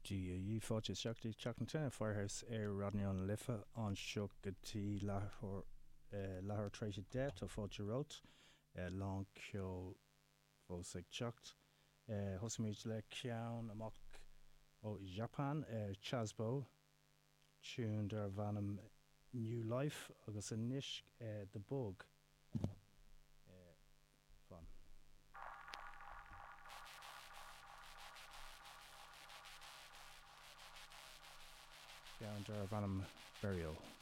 Dia dhaoibh, fáilte isteach go dtí Teach na Tine, Firehouse ar Raidió na Life anseo go dtí leathuair leathuair tar éis 10. Tá fáilte romhat. Lán ceoil fós ag teacht. Thosaímid le ceann amach ó Japan, Chazbo, tune darbh ainm New Life agus anois The Bug. Fan. Ceann darbh ainm Burial.